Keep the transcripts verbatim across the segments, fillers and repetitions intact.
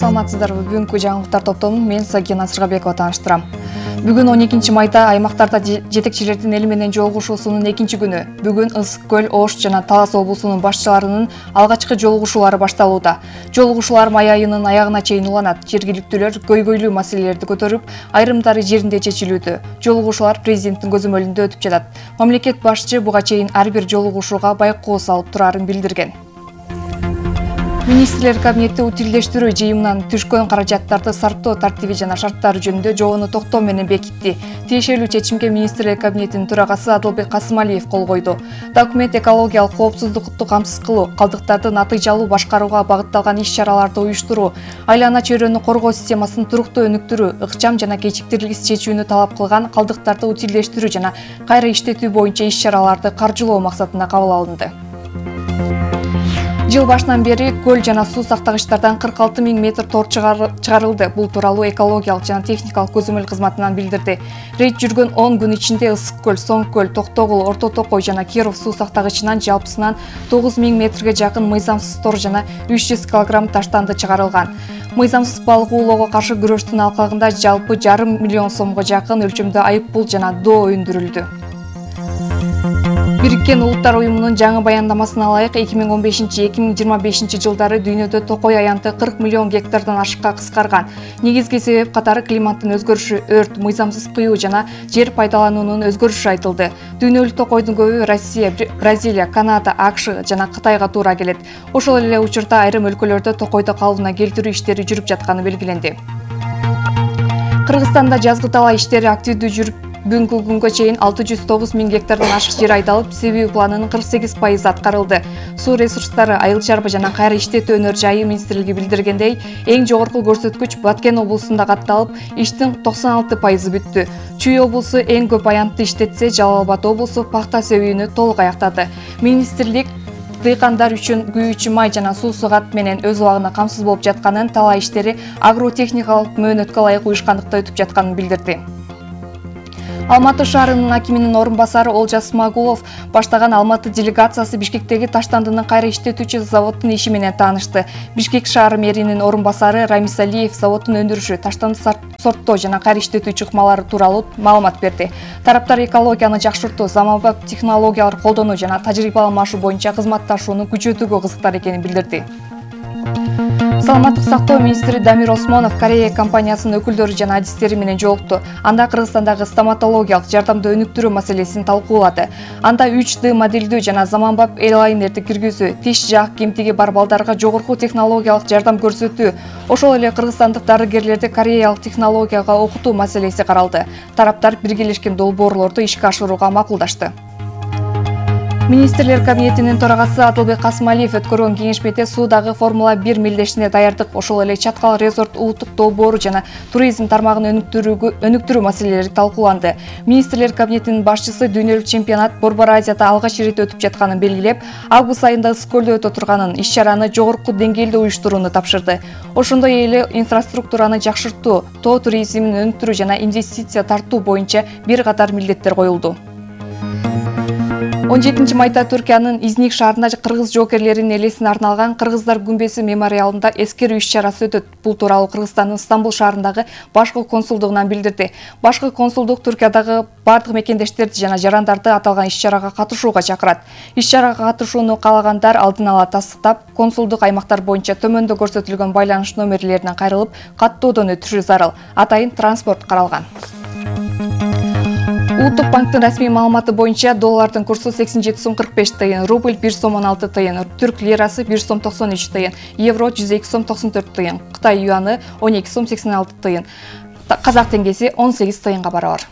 Саламатсыздарбы? Бүгүнкү жаңылыктар топтомун мен Сагина Сыргабекова тааныштырам. Бүгүн он экинчи майда аймактарда жетекчилердин эли менен жолугушуусунун экинчи күнү. Бүгүн Ысык көл, Ош жана Талас облусунун башчыларынын алгачкы жолугушуулары башталууда. Жолугушуулар май айынын аягына чейин уланат. Жергиликтүүлөр көйгөйлүү маселелерди көтөрүп, айрымдары жеринде чечилүүдө. Жолугушуулар президенттин көзөмөлүндө өтүп жатат. Мамлекет башчы буга чейин ар бир жолугушууга байкоо салып турарын билдирген. Министрлер кабинети утилдештирүү жыйымынан түшкөн каражаттарды сарптоо тартиби жана шарттары жөнүндө жобону токтоо менен бекитти. Тиешелүү чечимге Министрлер кабинетинин төрагасы Адылбек Касымалиев кол койду. Документ экологиялык коопсуздукту камсыз кылуу, калдыктарды натыйжалуу башкарууга багытталган иш-чараларды уюштуруу, айлана чөйрөнү коргоо системасын туруктуу өнүктүрүү, ыкчам жана кечиктирилгис чечүүнү талап кылган калдыктарды утилдештирүү жана кайра иштетүү боюнча иш-чараларды каржылоо максатында кабыл алынды. Жыл башынан бери көл жана суу сактагычтардан кырк алты миң метр тор чыгарылды. Бул тууралуу экологиялык жана техникалык көзөмөл кызматынан билдирди. Рейд жүргөн он күн ичинде Ысык көл, Соң көл, Токтогул, Орто Токой жана Киров суу сактагычынан жалпысынан тогуз миң метрге жакын мыйзамсыз тор жана үч жүз килограмм таштанды чыгарылган. Мыйзамсыз балык оолоого каршы күрөштүн алкагында жалпы жарым миллион сомго жакын өлчөмдө айып пул жана доо өндүрүлдү. Бириккен Улуттар уюмунун жаңы баяндамасына ылайык эки миң он бешинчи — эки миң жыйырма бешинчи жылдары дүйнөдө токой аянты кырк миллион гектардан ашыкка кыскарган. Негизги себеп катары климаттын өзгөрүшү, өрт, мыйзамсыз кыюу жана жер пайдалануунун өзгөрүшү айтылды. Дүйнөлүк токойдун көбү Россия, Бразилия, Канада, АКШ жана Кытайга туура келет. Ошол эле учурда айрым өлкөлөрдө токойду калыбына келтирүү иштери жүрүп жатканы белгиленди. Кыргызстанда жазгы талаа иштери активдүү жүрүп, бүгүнкү күнгө чейин алты жүз тогуз миң гектардан ашык жер айдалып, себүү планынын кырк сегиз пайызы аткарылды. Суу ресурстары, айыл чарба жана кайра иштетүү өнөр жайы министрлиги билдиргендей, эң жогорку көрсөткүч Баткен облусунда катталып, иштин токсон алты пайызы бүттү. Чүй облусу эң көп аянтты иштетсе, Жалал Абад облусу пахта себүүнү толук аяктады. Министрлик дыйкандар үчүн күйүүчү май жана суу сыгат менен өз убагында камсыз болуп жатканын, талаа иштери агротехникалык мөөнөткө ылайык уюшкандыкта өтүп жатканын билдирди. Алматы шаарынын акиминин орун басары Олжас Смагулов баштаган Алматы делегациясы Бишкектеги таштандынын кайра иштетүүчү заводдун иши менен таанышты. Бишкек шаары мэринин орун басары Рамис Алиев заводдун өндүрүшү, таштанды сорттоо жана кайра иштетүү чыкмалары тууралуу маалымат берди. Тараптар экологияны жакшыртуу, заманбап технологиялар колдонуу жана тажрыйба алмашуу боюнча кызматташууну күчөтүүгө кызыктар экенин билдирди. Саламаттык сактоо министри Дамир Осмонов Корея компаниясынын өкүлдөрү жана адистери менен жолукту. Анда Кыргызстандагы стоматологиялык жардамды өнүктүрүү маселесин талкуулады. Анда үч дэ модельдүү жана заманбап эйлайнерди киргизүү, тиш жаак кемтиги бар балдарга жогорку технологиялык жардам көрсөтүү, ошол эле кыргызстандык дарыгерлерди кореялык технологияга окутуу маселеси каралды. Тараптар биргелешкен долбоорлорду ишке ашырууга макулдашты. Министрлер кабинетинин төрагасы Адылбек Касымалиев өткөргөн кеңешмеде суудагы Формула бир мелдешине даярдык, ошол эле Чаткал резорт улуттук долбоору жана туризм тармагын өнүктүрүү маселелери талкууланды. Министрлер кабинетинин башчысы дүйнөлүк чемпионат Борбор Азияда алгач ирет өтүп жатканын белгилеп, август айында Ысык көлдө өтө турганын, иш-чараны жогорку деңгээлде уюштурууну тапшырды. Ошондой эле инфраструктураны жакшыртуу, тоо туризмин өнүктүрүү жана инвестиция тартуу боюнча бир катар милдеттер коюлду. он жетинчи майда Түркиянын Изник шаарында кыргыз жоокерлеринин элесине арналган Кыргыздар күмбеси мемориалында эскерүү иш-чарасы өтөт. Бул тууралуу Кыргызстандын Стамбул шаарындагы башкы консулдугунан билдирди. Башкы консулдук Түркиядагы бардык мекендештерди жана жарандарды аталган иш-чарага катышууга чакырат. Иш-чарага катышууну каалагандар алдын ала тастыктап, консулдук аймактар боюнча төмөндө көрсөтүлгөн байланыш номерлеринен кайрылып, каттоодон өтүшү зарыл. Атайын транспорт каралган. Улуттук банктын расмий маалыматы боюнча доллардын курсу сексен жети сом кырк беш тыйын, рубль бир сом он алты тыйын, түрк лирасы бир сом токсон үч тыйын, евро жүз эки сом токсон төрт тыйын, Кытай юаны он эки сом сексен алты тыйын, казак теңгеси он сегиз тыйынга барабар.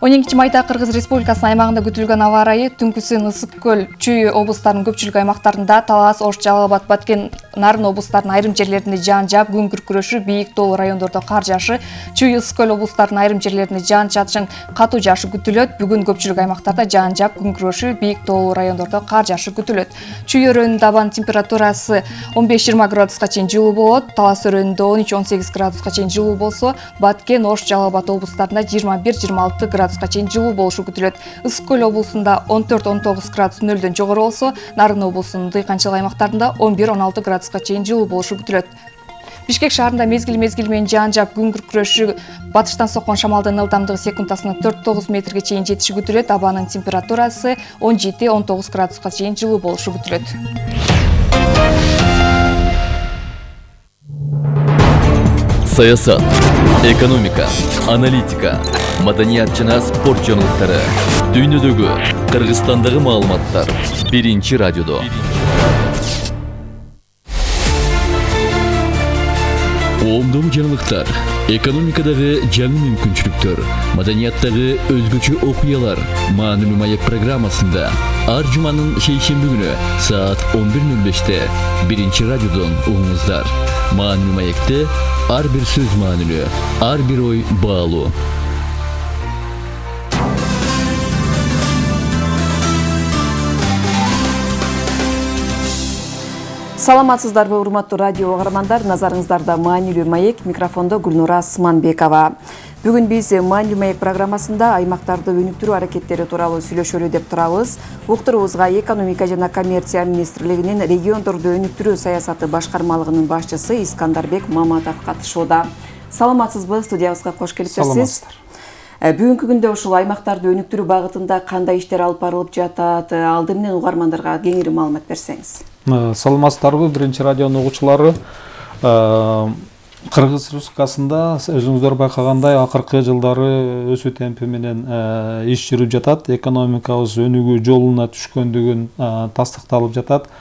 он экинчи майда Кыргыз Республикасынын аймагында күтүлгөн аба ырайы түнкүсүн Ысык көл, Чүй облустарынын көпчүлүк аймактарында, Талас, Ош, Жалал Абад, Баткен Нарын облустарынын айрым жерлеринде жаан жаап, күн күркүрөшү, бийик таулуу райондордо кар жаашы, Чүй, Ысык көл облустарынын айрым жерлеринде жаан-чачын, катуу жаашы күтүлөт. Бүгүн көпчүлүк аймактарда жаан жаап, күн күркүрөшү, бийик таулуу райондордо кар жаашы күтүлөт. Чүй өрөөнүндө абанын температурасы он беш жыйырма градуска чейин жылуу болот. Талас өрөөнүндө он үч он сегиз градуска чейин жылуу болсо, Баткен, Ош, Жалал Абад облустарында жыйырма бир жыйырма алты градуска чейин жылуу болушу күтүлөт. Ысык көл облусунда он төрт он тогуз градус нөлдөн жогору болсо, Нарын облусунун дыйканчылык аймактарында он бир он алты градуска чейин жылуу болушу күтүлөт. Бишкек шаарында мезгил мезгил менен жаан жаап, күн күркүрөшү, батыштан соккон шамалдын ылдамдыгы секундасына төрт тогуз метрге чейин жетиши күтүлөт. Абанын температурасы он жети он тогуз градуска чейин жылуу болушу күтүлөт. Саясат, экономика, аналитика, маданият жана спорт жаңылыктары, дүйнөдөгү, Кыргызстандагы маалыматтар биринчи радиодо. Оомдогу жаңылыктар, экономикадагы жаңы мүмкүнчүлүктөр, маданияттагы өзгөчө окуялар Маанилүү маек программасында ар жуманын шейшемби күнү саат он бир нөл беште биринчи радиодон угуңуздар. Маанилүү маекте ар бир сөз маанилүү, ар бир ой баалуу. Саламатсыздарбы, урматтуу радио угармандар, назарыңыздарда Маанилүү маек, микрофондо Гүлнура Сманбекова. Бүгүн биз Маанилүү маек программасында аймактарды өнүктүрүү аракеттери тууралуу сүйлөшөлү деп турабыз. Уктурубузга экономика жана коммерция министрлигинин региондорду өнүктүрүү саясаты башкармалыгынын башчысы Искандарбек Маматов катышууда. Саламатсызбы, студиябызга кош келипсиз. Саламатсыздар. Бүгүнкү күндө ушул аймактарды өнүктүрүү багытында кандай иштер алып барылып жатат? Алды менен угармандарга кеңири маалымат берсеңиз. Саламатсыздарбы, биринчи радионун угуучулары. Кыргыз Республикасында өзүңүздөр байкагандай акыркы жылдары өсүү темпи менен иш жүрүп жатат. Экономикабыз өнүгүү жолуна түшкөндүгүн тастыкталып жатат.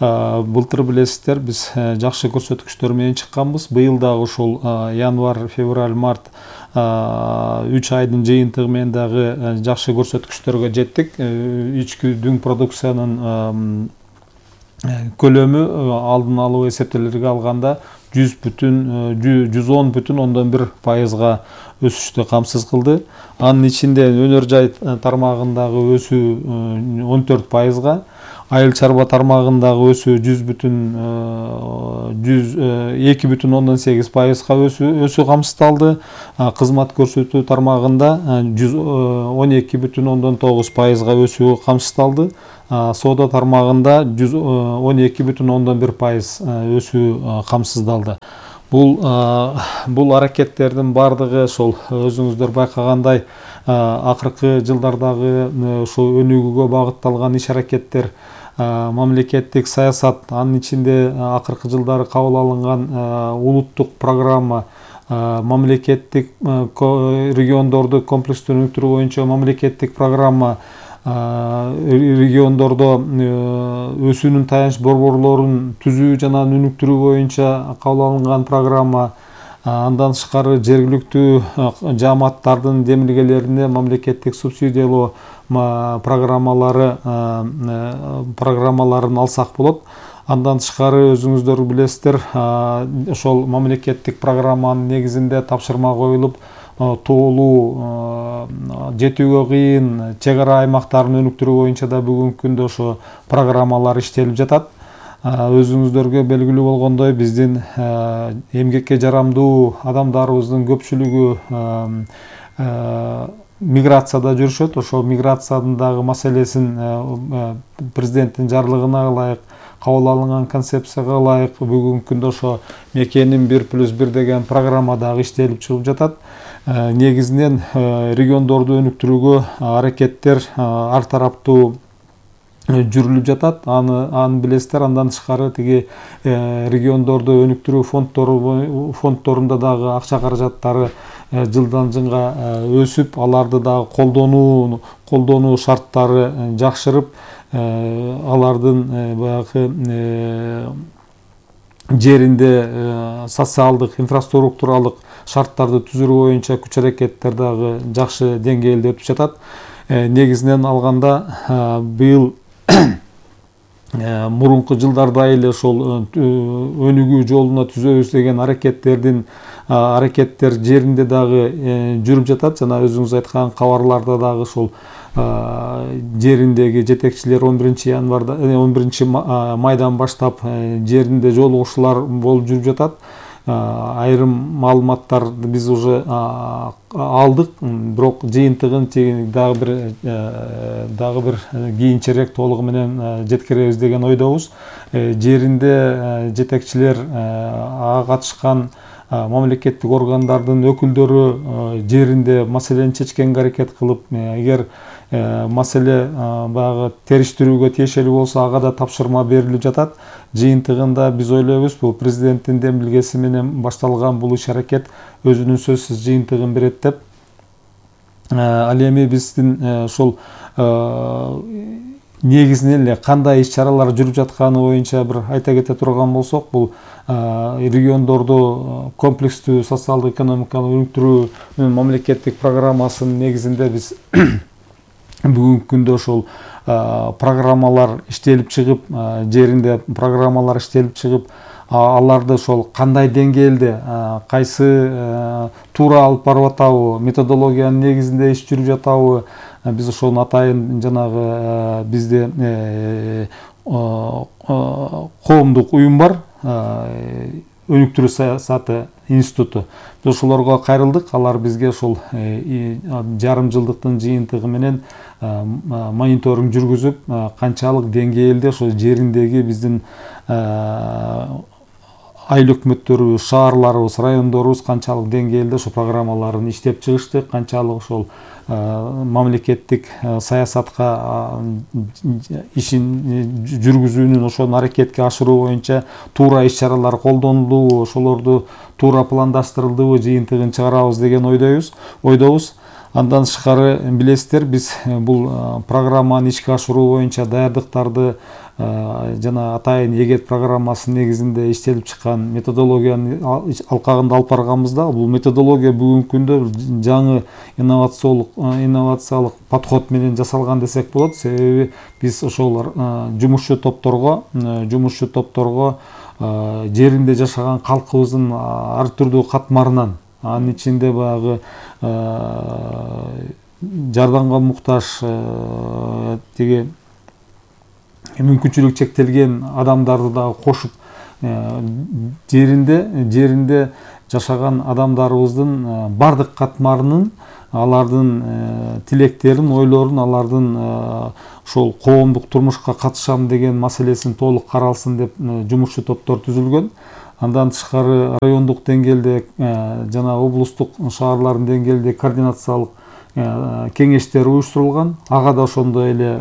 Былтыр билесиздер, биз жакшы көрсөткүчтөр менен чыкканбыз. Быйыл дагы ушул январь, февраль, март үч айдын жыйынтыгы менен дагы жакшы көрсөткүчтөргө жеттик. Ички дүң продукциянын көлөмү алдын алуу эсептелерге алганда жүз бүтүн жүз он бүтүн ондон бир пайызга өсүштү камсыз кылды. Анын ичинде өнөр жай тармагындагы өсүү он төрт пайызга, айыл чарба тармагындагы өсүү жүз бүтүн эки бүтүн ондон сегиз пайызга өсүү камсыздалды. Кызмат көрсөтүү тармагында жүз он эки бүтүн ондон тогуз пайызга өсүү камсыздалды. Соода тармагында жүз он эки бүтүн ондон бир пайыз өсүү камсыздалды. Бул бул аракеттердин бардыгы ошол өзүңүздөр байкагандай акыркы жылдардагы ушул өнүгүүгө багытталган иш аракеттер, мамлекеттик саясат, анын ичинде акыркы жылдары кабыл алынган улуттук программа, мамлекеттик региондорду комплекстүү өнүктүрүү боюнча мамлекеттик программа, региондордо өсүүнүн таянч борборлорун түзүү жана өнүктүрүү боюнча кабыл алынган программа, андан тышкары жергиликтүү жааматтардын демилгелерине мамлекеттик субсидиялоо программалары программаларын алсак болот. Андан тышкары өзүңүздөр билесиздер, ошол мамлекеттик программанын негизинде тапшырма коюлуп, тоолуу, жетүүгө кыйын чек ара аймактарын өнүктүрүү боюнча да бүгүнкү күндө ошо программалар иштелип жатат. Өзүңүздөргө белгилүү болгондой, биздин эмгекке жарамдуу адамдарыбыздын көпчүлүгү миграцияда жүрүшөт. Ошол миграциянын дагы маселесин президенттин жарлыгына ылайык, кабыл алынган концепцияга ылайык бүгүнкү күндө ошо мекенин бир плюс бир деген программа дагы иштелип чыгып жатат. Негизинен региондорду өнүктүрүүгө аракеттер ар тараптуу жүрүлүп жатат. Аны аны билесиздер. Андан тышкары тиги региондорду өнүктүрүү фонддору фонддорунда дагы акча каражаттары жылдан жылга өсүп, аларды дагы колдонуу колдонуу шарттары жакшырып, алардын баягы жеринде социалдык, инфраструктуралык шарттарды түзүү боюнча күч аракеттер дагы жакшы деңгээлде өтүп жатат. Негизинен алганда быйыл мурунку жылдарда эле ошол өнүгүү жолуна түзөбүз деген аракеттердин аракеттер жеринде дагы жүрүп жатат. Жана өзүңүз айткан кабарларда дагы ошол жериндеги жетекчилер он биринчи январда он биринчи майдан баштап жеринде жолугушуулар болуп жүрүп жатат. Айрым маалыматтарды биз уже алдык, бирок жыйынтыгын дагы бир дагы бир кийинчерээк толугу менен жеткиребиз деген ойдобуз. Жеринде жетекчилер, ага катышкан мамлекеттик органдардын өкүлдөрү жеринде маселени чечкенге аракет кылып, эгер маселе баягы териштирүүгө тиешелүү болсо ага да тапшырма берилип жатат. Жыйынтыгында биз ойлойбуз, бул президенттин демилгеси менен башталган бул иш аракет өзүнүн сөзсүз жыйынтыгын берет деп. Ал эми биздин ошол негизинен эле кандай иш чаралар жүрүп жатканы боюнча бир айта кете турган болсок, бул региондорду комплекстүү социалдык экономикалык өнүктүрүүнүн мамлекеттик программасынын негизинде биз бүгүнкү күндө ошол программалар иштелип чыгып, жеринде программалар иштелип чыгып, аларды ошол кандай деңгээлде, кайсы туура алып барып атабы, методологиянын негизинде иш жүрүп жатабы, биз ошону атайын жанагы бизде коомдук уюм бар, өнүктүрүү саясаты институту. Биз ошолорго кайрылдык, алар бизге ошол жарым жылдыктын жыйынтыгы менен мониторинг жүргүзүп, канчалык деңгээлде ошол жериндеги биздин айыл өкмөттөрүбүз, шаарларыбыз, райондорубуз канчалык деңгээлде ошол программаларын иштеп чыгышты, канчалык ошол мамлекеттик саясатка ишин жүргүзүүнүн, ошону аракетке ашыруу боюнча туура иш чаралар колдонулдубу, ошолорду туура пландаштырылдыбы, жыйынтыгын чыгарабыз деген ойдойбуз. Ойдобуз. Андан тышкары билесиздер, биз бул программаны ишке ашыруу боюнча даярдыктарды жана атайын эгет программасынын негизинде иштелип чыккан методологиянын алкагында алып барганбызда, бул методология бүгүнкү күндө жаңы инновациялык инновациялык подход менен жасалган десек болот. Себеби биз ошол жумушчу топторго жумушчу топторго жеринде жашаган калкыбыздын ар түрдүү катмарынан, анын ичинде баягы жардамга муктаж тиги мүмкүнчүлүгү чектелген адамдарды дагы кошуп, жеринде жеринде жашаган адамдарыбыздын бардык катмарынын, алардын тилектерин, ойлорун, алардын ошол коомдук турмушка катышам деген маселесин толук каралсын деп жумушчу топтор түзүлгөн. Андан тышкары райондук деңгээлде жана облустук, шаарлардын деңгээлде координациялык кеңештер уюштурулган. Ага да ошондой эле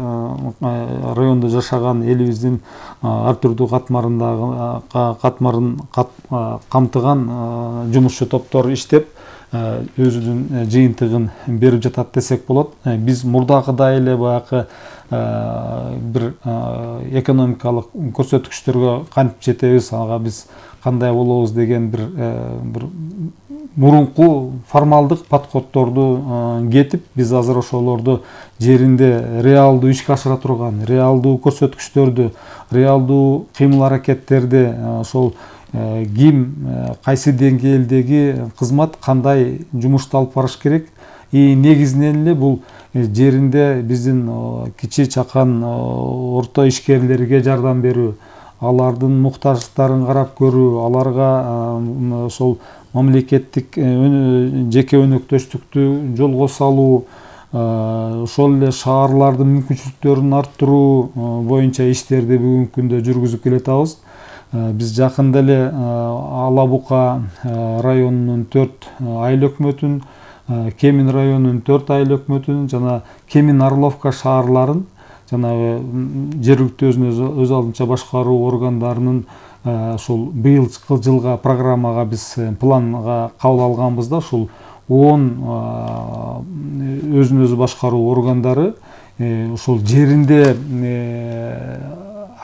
райондо жашаган элибиздин ар түрдүү катмарындагы катмарын камтыган жумушчу топтор иштеп, өзүнүн жыйынтыгын берип жатат десек болот. Биз мурдагыдай эле баягы бир экономикалык көрсөткүчтөргө кантип жетебиз, ага биз кандай болобуз деген бир бир мурунку формалдык подходдорду кетип, биз азыр ошолорду жеринде реалдуу ишке ашыра турган, реалдуу көрсөткүчтөрдү, реалдуу кыймыл аракеттерди, ошол ким кайсы деңгээлдеги кызмат кандай жумушту алып барыш керек, и негизинен эле бул жеринде биздин кичи чакан орто ишкерлерге жардам берүү, алардын муктаждыктарын карап көрүү, аларга ошол мамлекеттик жеке өнөктөштүктү жолго салуу, ошол эле шаарлардын мүмкүнчүлүктөрүн арттыруу боюнча иштерди бүгүнкү күндө жүргүзүп келатабыз. Биз жакында эле Ала Бука районунун төрт айыл өкмөтүн, Кемин районунун төрт айыл өкмөтүн жана Кемин Орловка шаарларын жанагы жергиликтүү өзүн өз алдынча башкаруу органдарынын ошол быйылкы жылга программага биз планга кабыл алганбыз да, ушул он өзүн өзү башкаруу органдары ошол жеринде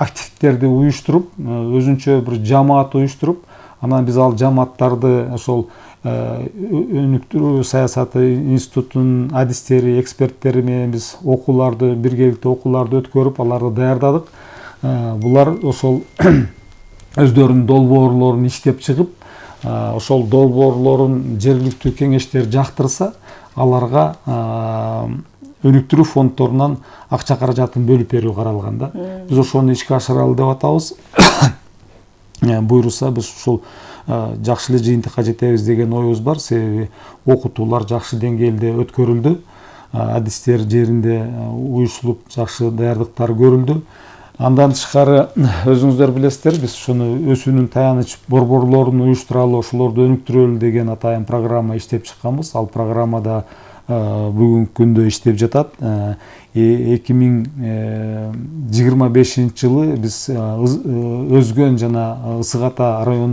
активдерди уюштуруп, өзүнчө бир жамаат уюштуруп, анан биз ал жамааттарды ошол өнүктүрүү саясаты институтунун адистери, эксперттери менен биз окууларды, биргеликте окууларды өткөрүп, аларды даярдадык. булар ошол өздөрүнүн долбоорлорун иштеп чыгып, ошол долбоорлорун жергиликтүү кеңештер жактырса, аларга өнүктүрүү фонддорунан акча каражатын бөлүп берүү каралган да. Биз ошону ишке ашыралы деп атабыз. Буйруса биз ушул жакшы эле жыйынтыкка жетебиз деген оюбуз бар, себеби окутуулар жакшы деңгээлде өткөрүлдү, адистер жеринде уюшулуп жакшы даярдыктар көрүлдү. Андан тышкары өзүңүздөр билесиздер, биз ушуну өсүүнүн таяныч борборлорун уюштуралы, ошолорду өнүктүрөлү деген атайын программа иштеп чыкканбыз. Ал программада бүгүнкү күндө иштеп жатат. эки миң жыйырма бешинчи жылы биз Өзгөн жана Ысык Ата район